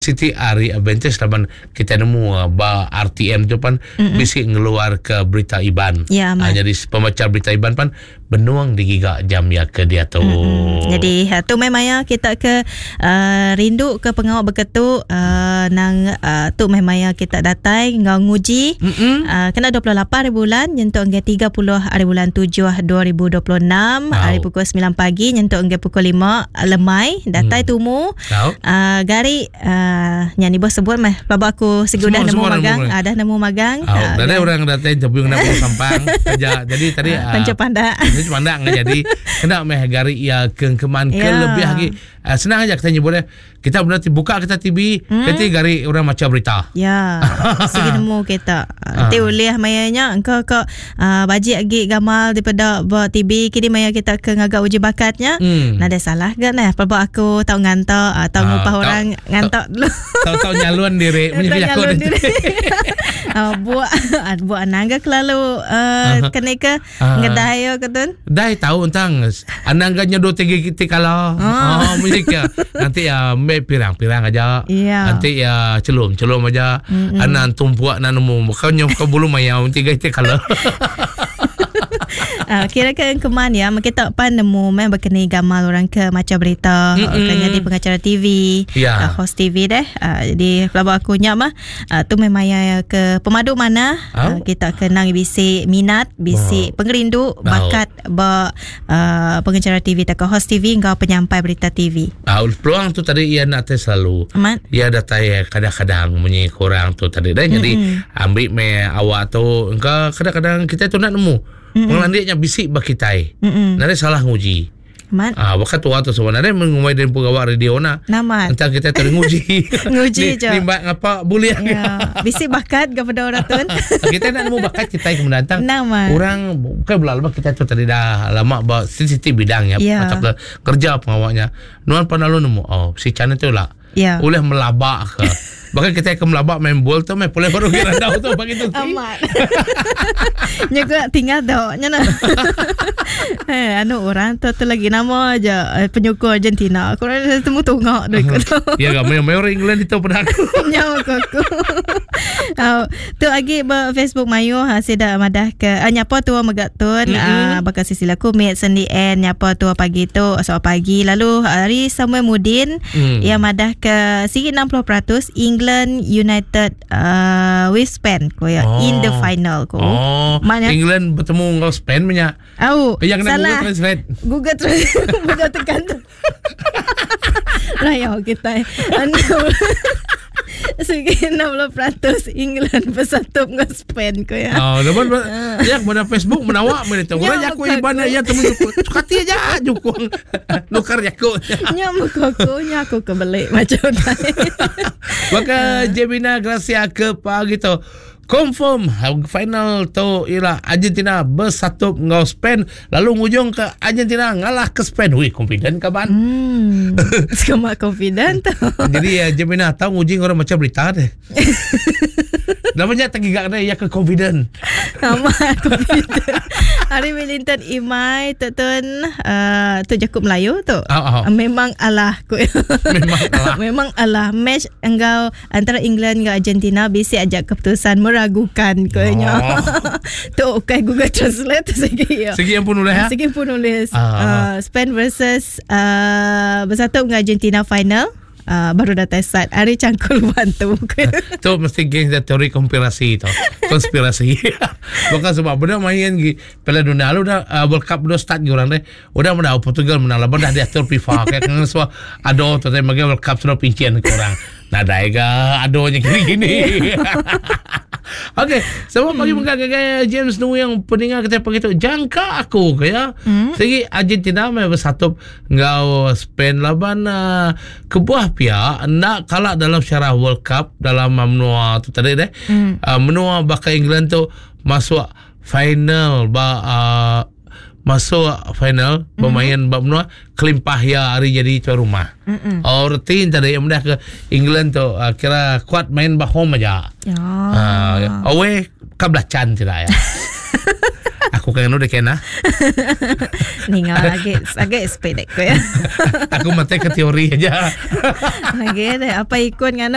siti ari advantage laban kita nemu ba RTM tu pan mm-hmm. bisi ngeluar ke berita Iban. Ya, uh, jadi pembaca berita Iban pan benung digiga jam ya ke diatu. Mm-hmm. Jadi ha, tu meh maya kita ke uh, rindu ke pengawa beketu uh, nang uh, tu meh maya kita datai enggau nguji mm-hmm. uh, kena 28 hari bulan nyentuk hingga 30 hari bulan 7 2026 wow. hari pukul 9 pagi nyentuk hingga pukul 5 lemai datai mm. tumu uh, gari Uh, nya ni bos sebut meh pelaba aku segi udah nemu magang uh, dah nemu magang oh, uh, dari orang datai tapi kena bulu sampang kerja jadi tadi uh, panca pandak panca pandak jadi kena meh gari ia kengkeman ke yeah. lebih lagi uh, senang aja kita nyebut kita berarti buka kita TV hmm? kita gari orang macam berita ya segi nemu kita uh. Ti ulih maya nya engkau kok uh, bajik agi gamal daripada ba TV kini maya kita ke ngaga uji bakatnya hmm. nadai salah ga nah pelaba aku tau nganta uh, tau uh, ngupah orang nganta dulu tau tau nyalon diri punya nyalon diri uh, buat buat anang ga kelalu uh, uh, kene ke uh, ngedai yo ke tun dai tau entang anang ga nyodo tiga kita kala oh, oh ke nanti ya me pirang-pirang aja yeah. nanti ya celum celum aja mm-hmm. anan tumpuk nan nemu bukan nyom ke bulu mayau tiga itu kalau Uh, kira ke keman ya kita pan nemu meh berkeni gamal orang ke macam berita mm-hmm. ke jadi pengacara TV yeah. uh, host TV deh uh, jadi pelaba aku nya mah uh, tu memang ya ke pemadu mana oh. uh, kita kenang bisi minat bisi oh. pengerindu bakat oh. ba uh, pengacara TV atau host TV enggau penyampai berita TV. Uh, peluang tu tadi ia nak selalu. Amat. Ia datai kadang-kadang munyi kurang tu tadi dah. Mm-hmm. Jadi ambil me awak tu engkau kadang-kadang kita tu nak nemu. Mm-hmm. Pengelandiknya bisik bagi kitai. Mm-hmm. Nari salah nguji. Amat. Ah, bahkan tua tu sebenarnya mengumai dan pegawai radio na. Namat. Entah kita terenguji. Nguji je. Ni mbak ngapa boleh. Ya. Bisi bakat kepada orang tu. kita nak nemu bakat kita yang mendatang. Namat. Orang bukan belah lama kita tu tadi dah lama ba sensitif bidang ya. Yeah. Macam ke kerja pengawaknya. Nuan pernah lu nemu oh si channel tu lah. Yeah. Boleh melabak ke. Bahkan kita ke melabak main bol tu main boleh baru kira tahu tu bagi tu. Amat. Nya ke tinggal tu nya nak. Eh anu orang tu tu lagi nama aja eh, penyokong Argentina. Aku rasa temu tungak deh tu. Ya gak main main orang England itu pernah aku. Nya aku. aku. Oh, tu lagi ba Facebook mayu ha sida madah ke uh, nyapa tua mega tun mm-hmm. uh, bakal sisila kumit sendi en nyapa tua pagi tu soal pagi lalu hari Samuel Mudin mm. ia madah ke sigi 60% England United uh, with Spain ko ya oh. in the final ko. Oh. Mana? England bertemu dengan Spain punya. Oh, Yang kena salah. Google Translate. Google Translate. Google tekan tu. Raya kita. Anu. Segi 60% England bersatu dengan Spain ko ya. Oh, lepas ya kepada Facebook menawak mana tu. Orang Ya, jaku bukan ibana aku. ya temu juku. Sukati aja jukung. Nukar jaku. Nya muka aku, nya aku kebelik macam tadi. Maka Jemina Gracia ke pagi tu. Confirm final tu ialah Argentina bersatu dengan Spain lalu ngujung ke Argentina ngalah ke Spain. Wih, confident kaban. Hmm. Sekemak confident tu. Jadi ya, Jemina tahu ngujung orang macam berita deh. Namanya tergigak deh ya ke confident. Amat confident. Hari Wellington Imai tu tun uh, tu Jakub Melayu tu. Oh, oh. Memang alah ku. Memang alah. Memang alah match engkau antara England dengan Argentina bisi ajak keputusan meragukan konya. Oh. tu okay Google Translate segi ya. Segi yang pun nulis ya. Segi pun nulis Ah. uh, Spain versus uh, bersatu dengan Argentina final. Uh, baru datang sat Hari cangkul bantu Tu mesti geng dah teori konspirasi tu. Konspirasi. Bukan sebab benda main gi Piala Dunia lu dah uh, World Cup dah start gi orang deh. Udah menang Portugal menang lah dah diatur FIFA kayak kan semua ado tu tadi bagi World Cup sudah pincian ke orang. Nadai ke adonya gini-gini. Okey, semua pagi hmm. gagai James Nu yang pendengar kita pagi tu jangka aku ke ya. Hmm. Segi Argentina mai bersatu ngau Spain laban uh, kebuah pihak nak kalah dalam syarah World Cup dalam uh, menua tu tadi deh. Hmm. Uh, menua bakal England tu masuk final ba uh, masuk final mm-hmm. bermain bab menua kelimpah ya hari jadi tuan rumah. Mm-hmm. Oh rutin tadi yang mudah ke England tu uh, kira kuat main bah home aja. Ya. Uh, away kabelacan tidak ya. Aku kan udah kena. Ningal lagi agak sepedek ko ya. Aku mati ke teori aja. Lagi deh apa ikut ngano